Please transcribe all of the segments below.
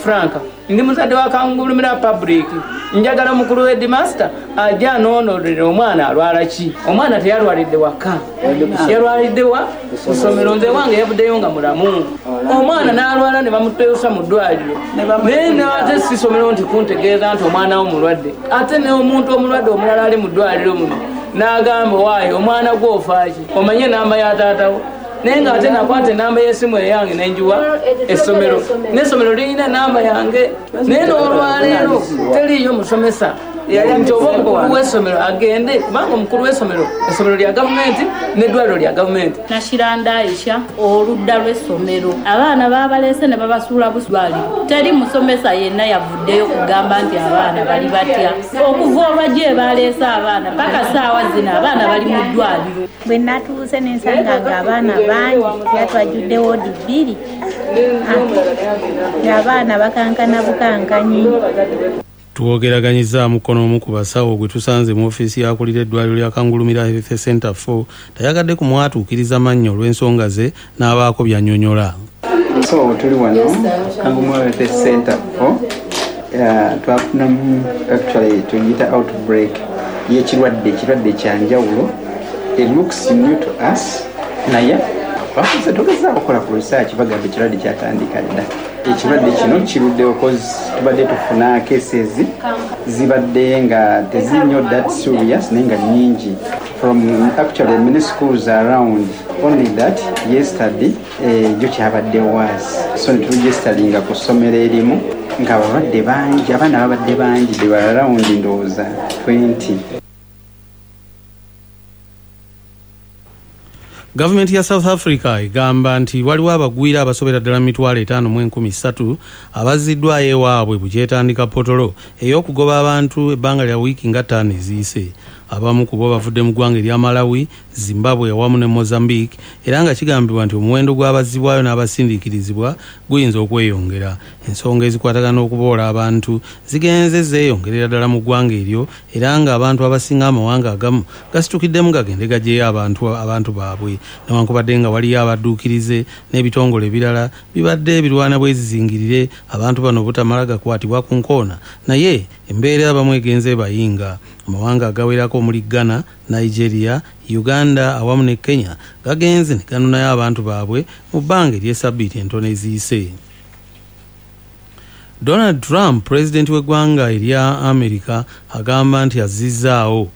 Frank, ndi muzadde wa Kangulumira Public. Njagala omukulu headmaster ajje anoonolere omwana alwala ki. Omwana teyalwalidde waka, yalwalidde wa ku ssomero. Nze wange yavuddeyo nga mulamu, omwana n'alwala ne bamutuusa mu ddwaliro, naye ate si ssomero nti kuntegeeza nti omwana wo mulwadde. Ate n'omuntu omulwadde omulala ali mu ddwaliro muno n'agamba, waayo omwana gwo ofaaki, omanye enamba ya taatawo, naye ng'ate nakwata enamba y'essimu eyange nenjiwa essomero, n'essomero lirina enamba yange, naye n'olwaleero teriiyo musomesa nti oba omukulu w'essomero agende, kubanga omukulu w'essomero, essomero lya gavumenti n'eddwaliro lya gavumenti. Nashiranda Aisha, oludda lw'essomero abaana babaleese ne babasuula buswaliro. Teri musomesa yenna yavuddeyo kugamba nti abaana bali batya. Okuva olwajje baleese abaana paka ssaawa zino abaana bali mu ddwaliro. Bwe natuuse ne nsanga nga abaana bangi, era twajjudde woodi 2, ng'abaana bakankana bukankanyi. Tuwogeraganyizza mukono omu ku basawo gwe tusanze mu ofiisi y'akulira eddwaliro lya Kangulumira Health Center 4, tayagadde kumwatuukiriza mannya olw'ensonga ze n'abaako by'annyonnyola. So tuli wano Kangulumira Health Center 4, twafunamu actually tuyita outbreak y'ekirwadde, ekirwadde kya njawulo. It looks new to us, naye twakoze tugezaako okukola ku research, bagamba ekirwadde kyatandika dda. Ekirwadde kino kiruddewo cause tubadde tufuna cases zibadde nga teziri that serious, naye nga nnyingi from actually many schools around. Only that yesterday gyo kyabadde worse, so neturegisteringa ku ssomero erimu nga abalwadde bangi, abaana babadde bangi, they were around ndowooza 20. Gavumenti ya South Africa egamba nti waliwo abagwira abasobera ddala 53,000 abazziddwayo ewaabwe bukyetandika potolo ey'okugoba abantu ebbanga lya wiiki nga 5 eziyise. Abamu ku bo bavudde mu ggwanga erya Malawi, Zimbabwe awamu ne Mozambique, era nga kigambibwa nti omuwendo gw'abazzibwayo n'abasindiikirizibwa guyinza okweyongera. Ensonga ezikwatagana n'okuboola abantu zigenze zeeyongerera ddala mu ggwanga eryo, era ng'abantu abasinga amawanga agamu gasitukiddemu gagende gaggyeyo abantu baabwe. Newankubadde nga waliyo abadduukirize n'ebitongole ebirala bibadde ebirwana bwezizingirire abantu bano obutamala gakwatibwa ku nkoona, naye embeera abamu egenze ebayinga. Amawanga agawerako omuli Ghana, Nigeria, Uganda awamu ne Kenya gagenze ne ganonayo abantu baabwe mu bbanga ery'essabbiiti entono eziyise. Donald Trump, pulezidenti w'eggwanga erya America, agamba nti azzizzaawo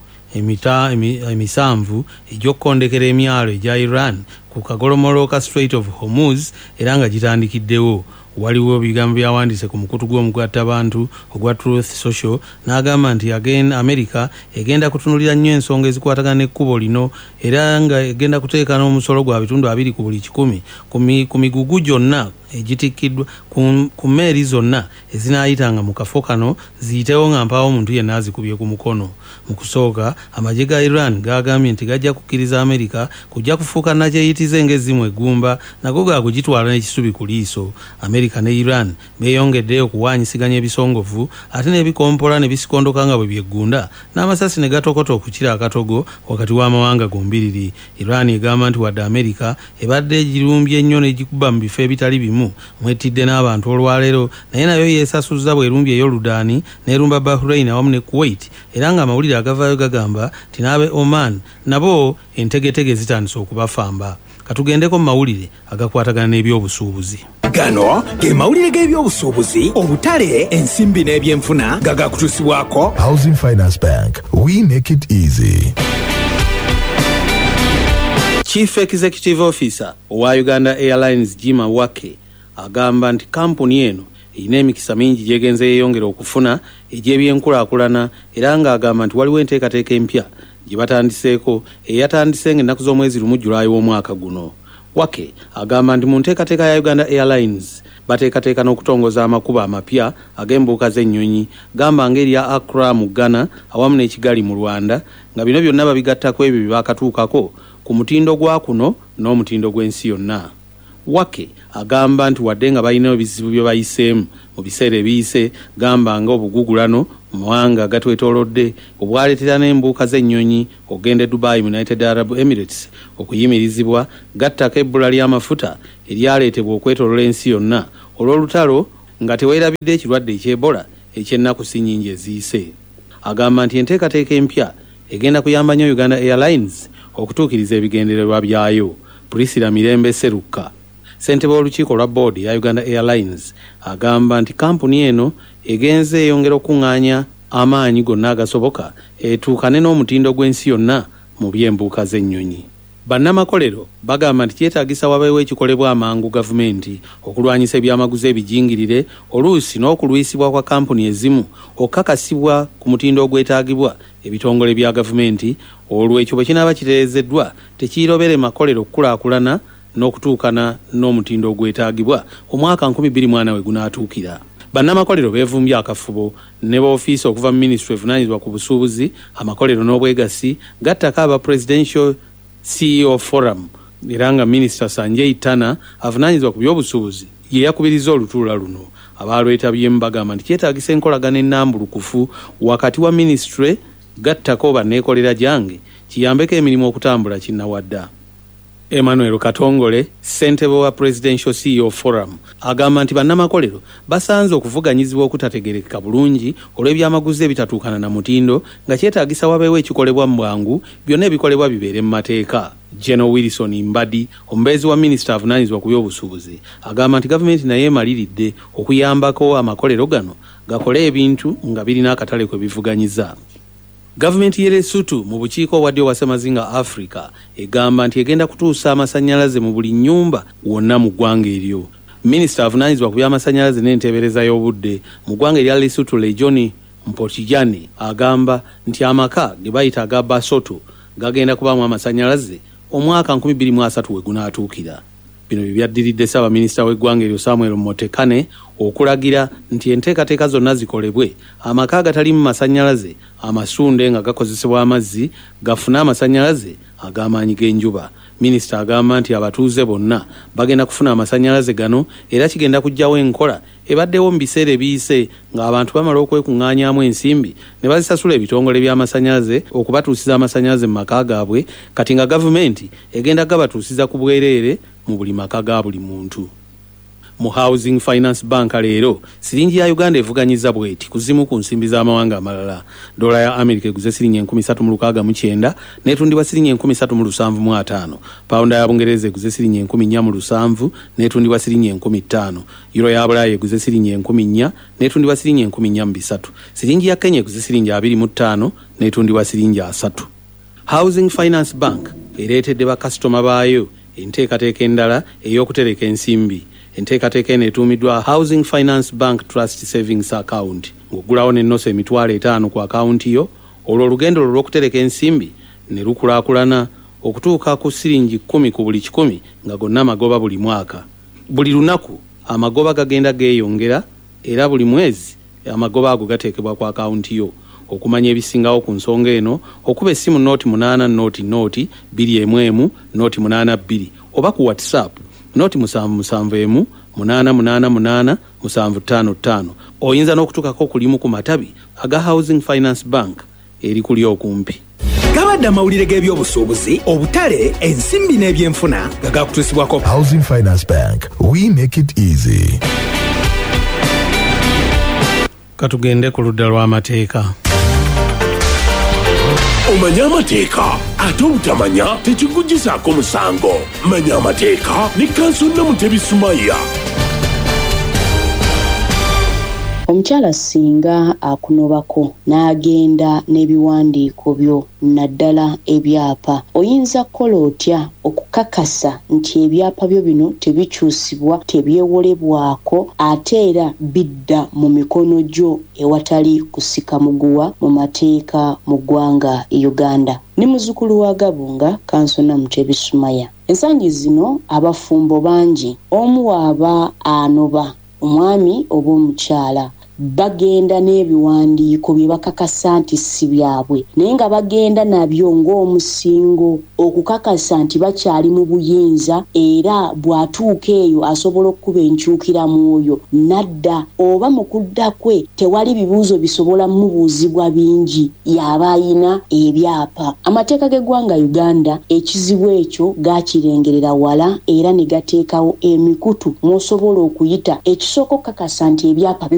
emisanvu egy'okukondekera emyalo egya Iran ku kagolomolo ka Strait of Hormuz, era nga gitandikiddewo. Waliwo ebigambo byawandiise ku mukutu gw'omugattabantu ogwa Truth Social n'agamba nti again America egenda kutunulira nnyo ensonga ezikwatagana n'ekkubo lino, era nga egenda kuteeka n'omusolo gwa 20% ku buli 100 ku migugu gyonna egitikkiddwa ku mmeeri zonna ezinaayitanga mu kafo kano ziyitewo nga mpaawo omuntu yenna azikubye ku mukono. Mu kusooka amagye ga Iran gagambye nti gajja kukkiriza America kujja kufuuka nakyeyitize ng'ezzimu eggumba, nago gaakugitwala n'ekisubi ku liiso. America ne Iran beeyongedde okuwaanyisiganya ebisongovu ate n'ebikompola ne bisikondoka nga bwe byeggunda n'amasasi ne gatokota okukira akatogo wakati w'amawanga gombiriri. Iran egamba nti wadde America ebadde egirumbye ennyo n'egikuba mu bifo ebitali bimu mwettidde n'abantu olwaleero, naye nayo yeesasuzza bw'erumbye Yoludaani n'erumba Bahrain awamu ne Kuwait, era ng'amawulire agavaayo gagamba nti n'abe Oman nabo entegetege zitandise okubafamba. Katugendeko mu mawulire agakwatagana n'ebyobusuubuzi. Gano ge mawulire g'ebyobusuubuzi, obutale, ensimbi n'ebyenfuna nga gakutuusibwako Housing Finance Bank. We make it easy. Chief Executive Officer owa Uganda Airlines Jima Wake agamba nti kampuni eno erina emikisa mingi gy'egenze yeeyongera okufuna egy'ebyenkulaakulana, era ng'agamba nti waliwo enteekateeka empya gye batandiseeko eyatandise ng'ennaku z'omwezi 1 Julaayi w'omwaka guno. Wake agamba nti mu nteekateeka ya Uganda Airlines bateekateeka n'okutongoza amakubo amapya ag'embuuka z'ennyonyi, gamba ng'erya Accra mu Ghana awamu n'e Kigali mu Rwanda, nga bino byonna babigattako ebyo bye baakatuukako ku mutindo gwa kuno n'omutindo gw'ensi yonna. Wake agamba nti wadde nga balina ebizibu bye bayiseemu mu biseera ebiyise, gamba nga obugugulano mu mawanga agatwetoolodde obwaleetera n'embuuka z'ennyonyi okugenda e Dubai mu United Arab Emirates okuyimirizibwa, gattako ebbula ly'amafuta eryaleetebwa okwetooloola ensi yonna olw'olutalo nga teweerabidde ekirwadde eky'Ebola eky'ennaku si nnyingi eziyise. Agamba nti enteekateeka empya egenda kuyamba nnyo Uganda Airlines okutuukiriza ebigendererwa byayo. Priscilla Mirembe Serukka, ssentebe w'olukiiko lwa bboodi ya Uganda Airlines, agamba nti kampuni eno egenze eyongera okukuŋŋaanya amaanyi gonna agasoboka etuukane n'omutindo gw'ensi yonna mu by'embuuka z'ennyonyi. Bannamakolero bagamba nti kyetaagisa wabeewo ekikolebwa amangu gavumenti okulwanyisa ebyamaguzi ebijingirire oluusi n'okulwisibwa kwa kampuni ezimu okukakasibwa ku mutindo ogwetaagibwa ebitongole bya gavumenti, olwo ekyo bwe kinaaba kitereezeddwa tekiirobere makolero kukulaakulana n'okutuukana n'omutindo ogwetaagibwa omwaka 2040 we gunaatuukira. Bannamakolero beevumbye akafubo ne boofiisa okuva mu minisitule evunaanyizibwa ku busuubuzi, amakolero n'obwegassi gattako aba Presidential CEO Forum era nga minisita Sanjay Tana avunaanyizibwa ku by'obusuubuzi ye yakubirizza olutuula luno. Abaalwetabyemu bagamba nti kyetaagisa enkolagana ennambulukufu wakati wa minisitule gattako banneekolera gyange kiyambeko emirimu okutambula kinnawadda. Emmanuel Katongole, ssentebe wa Presidential CEO Forum agamba nti bannamakolero basanze okuvuganyizibwa okutategeerekeka bulungi olw'ebyamaguzi ebitatuukana na mutindo nga kyetaagisa wabeewo ekikolebwa mu bwangu byonna ebikolebwa bibeere mu mateeka. General Wilson Mbadi, omubeezi wa minisita avunaanyizibwa ku by'obusuubuzi agamba nti gavumenti nayo emaliridde okuyambako amakolero gano gakole ebintu nga birina akatale kwe bivuganyiza. Gavumenti y'e Lesotho mu bukiika obwa ddyo obwa ssemazinga Africa egamba nti egenda kutuusa amasannyalaze mu buli nnyumba wonna mu ggwanga eryo. Minisita avunaanyizibwa ku by'amasannyalaze n'enteebereza y'obudde mu ggwanga erya Lesotho Lejone Mpotsejane agamba nti amaka ge bayita aga Basotho gagenda kubaamu amasannyalaze omwaka 2030 we gunaatuukira. Bino bye byaddiridde Ssaabaminisita w'eggwanga eryo Samuel Motekane okulagira nti enteekateeka zonna zikolebwe amaka agataliimu masannyalaze amasunde nga gakozesebwa amazzi gafune amasannyalaze ag'amaanyi g'enjuba. Minisita agamba nti abatuuze bonna bagenda kufuna amasannyalaze gano era kigenda kuggyawo enkola ebaddewo mu biseera ebiyise ng'abantu bamala okwekung'aanyaamu ensimbi ne bazisasula ebitongole by'amasannyalaze okubatuusiza amasannyalaze mu maka gaabwe kati nga gavumenti egenda gabatuusiza ku bwereere mu buli maka ga buli muntu. Mu Housing Finance Bank leero, siringi ya Uganda evuganyiza bweti ku zimu ku nsimbi z'amawanga amalala. Doola ya Amerika eguze siringi 3,069 n'etundibwa siringi 3,750. Pawunda ya Bungereza eguze siringi 4,007 n'etundibwa siringi 5,000. Euro ya Bulaaya eguze siringi 4,000 n'etundibwa siringi 4,300. Siringi ya Kenya eguze siringi 25 n'etundibwa siringi 3. Housing Finance Bank ereetedde bakasitoma baayo enteekateeka endala ey'okutereka ensimbi. Enteekateeka eno etuumiddwa Housing Finance Bank Trust Savings Account ng'oggulawo n'ennosa 50,000 ku akawunti yo, olwo olugendo lwo olw'okutereka ensimbi ne lukulaakulana okutuuka ku siringi 10 ku buli kikumi nga gonna magoba buli mwaka. Buli lunaku amagoba gagenda geeyongera era buli mwezi amagoba ago gateekebwa ku akawunti yo. Okumanya ebisingawo ku nsonga eno okuba essimu 08 0 0 2 1 0 8 2 oba ku WhatsApp 077 1 888 755. Oyinza n'okutuukako ku limu ku matabi aga Housing Finance Bank eri kuli okumpi. Gabadde amawulire g'ebyobusuubuzi, obutale, ensimbi n'ebyenfuna nga gakutuusibwako Housing Finance Bank. We make it easy. Katugende ku ludda lw'amateeka. Omanye amateeka, ate obutamanya tekikugisaako musango. Manya amateeka ne Kanso Namutebi Sumaya. Omukyala singa akunobako n'agenda n'ebiwandiiko byo naddala ebyapa, oyinza kukola otya okukakasa nti ebyapa byo bino tebikyusibwa, tebyewolebwako ate era bidda mu mikono gyo ewatali kusika muguwa mu mateeka mu ggwanga Uganda? Ni muzzukulu wa Gabunga, Kanso Namutebi Sumaya. Ensangi zino abafumbo bangi omu waaba anoba omwami oba omukyala Bagenda n'ebiwandiiko bye bakakasa nti si byabwe naye nga bagenda nabyo ng'omusingo okukakasa nti bakyali mu buyinza era bw'atuuka eyo asobola okukuba enkyukira mwoyo n'adda, oba mu kudda kwe tewali bibuuzo bisobola mubuuzibwa bingi, y'aba ayina ebyapa. Amateeka g'eggwanga Uganda ekizibu ekyo gakirengerera wala era ne gateekawo emikutu mw'osobola okuyita ekisooka okukakasa nti ebyapa.